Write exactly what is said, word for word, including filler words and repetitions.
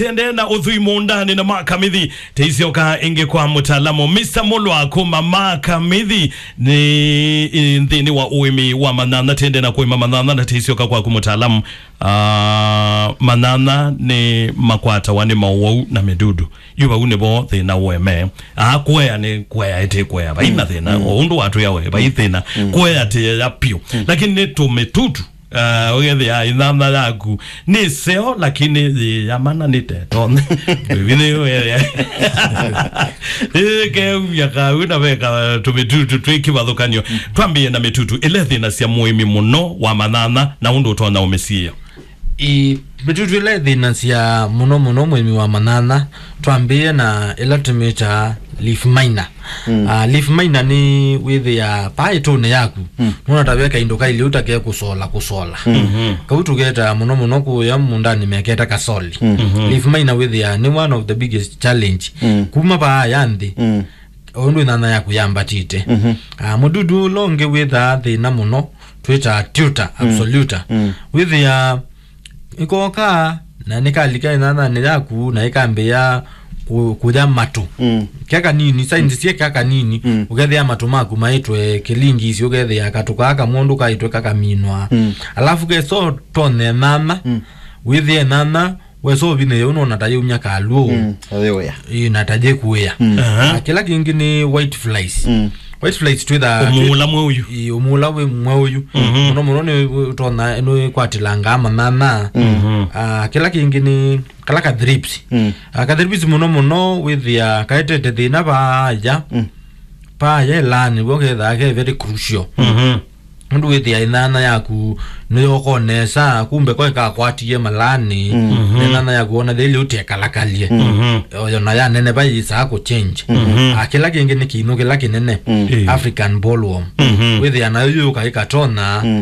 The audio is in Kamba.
Tende na ũthũi mũũndanĩ na makamithi, teisyoka ĩngĩ kwa mũtaalamu. Mister Mulwa kuma makamithi nĩ, ĩ, nthĩnĩ wa ũĩmi wa manyanya, tende na kũĩma manyanya na teisyoka kwaku mũtaalamu. Ah, manyanya nĩ makwatawa nĩ mawau na mĩdudu. Yu vau nĩvo thĩna ũeme. Ah, kũea nĩ kũea ĩtĩ kũea. Vai na thĩna. O ũndũ watwĩa we, vai thĩna. Kũea tĩ ya piũ. Lakini nĩ tũmĩtutu. Ah, ũgethĩa ĩnyanya yaku nĩ seo, lakini yĩ ya mana nĩ teto. Ĩvinĩ ũgethĩa. Ĩkeumya kau na veka tũmĩtutu twĩ kĩvathũkanio. Twambĩe na mĩtutu. Ĩla thĩna sya mũĩmi mũno wa manyanya na ũndũ ũtonya ũmĩsiĩĩa. Ĩ, mĩtutu ĩla ĩthĩnasya mũno mũno mũĩmi wa manyanya, twambĩĩe na ĩla tũmĩtaa leaf miner. Mm. Ah, leaf miner nĩ wĩthĩa paa ĩtũnĩ yaku, mm, nũna ta ve kaindo kailĩ ũtake kũsola kũsola. Mm-hmm. Kau tũketaa mũno mũno kũya mũndanĩ meketa kasoli. Mm-hmm. Leaf miner wĩthĩa nĩ one of the biggest challenge. Mm. Kuma paa ya nthĩ. Mm. O ũndũ ĩnyanya yaku yambatĩte. Mhm. Ah, mũdudu ũla ũngĩ wĩthaa thĩna mũno, twĩtaa tuta, mm, absoluta. Mm. Wĩthĩa ĩkoka na nĩkalika ĩnyanyanĩ yaku na ĩkambĩĩa kũ-, kũya matũ. Mm. Kya kanini, signs syĩ kya kanini, mm, ũkethĩa matũ maku maĩtwe kĩlingisi, ũkethĩa katũ kaa kamwondũ kaĩtwe kakaminwa. Mm. Alafu keso tonye ĩnyanya, mm, wĩthĩe ĩnyanya, wesa ũvinĩĩa ũnona ta yĩumya kalw'ũ. Mm, ayĩwĩa. Ĩ, na ta yĩkũĩa. Mm. Aha. Ah, kĩla kĩngĩ nĩ white flies. Mm. White flies twĩthaa ũmũũla mweũyu. Ĩ, ũmũũla wĩ mweũyu. Mhm. Mũno mũno nĩ ũtona, nĩ kwatĩlangaa manyanya. Mhm. Ah, kĩla kĩngĩ nĩ kala ka thrips. Mm. Ah, ka thrips mũno mũno wĩthĩa kaetete thĩna vaya. Mm. Vaya ĩlaanĩ, w'o kethaa ke very crucial. Mhm. Nũndũ wĩthĩa ĩnyanya yaku nĩyoko nesa, kumbe ko ĩkakwatie malanĩ, mm, na ĩnyanya yaku ona thĩlĩ ũtekalakalye. Mhm. Oyo na yanene vai ĩsaa kũ change. Mhm. Ah, kĩla kĩngĩ nĩ kĩimũ kĩla kĩnene, mm, African bollworm. Mhm. Wĩthĩa nayo yũka ĩkatona, mm,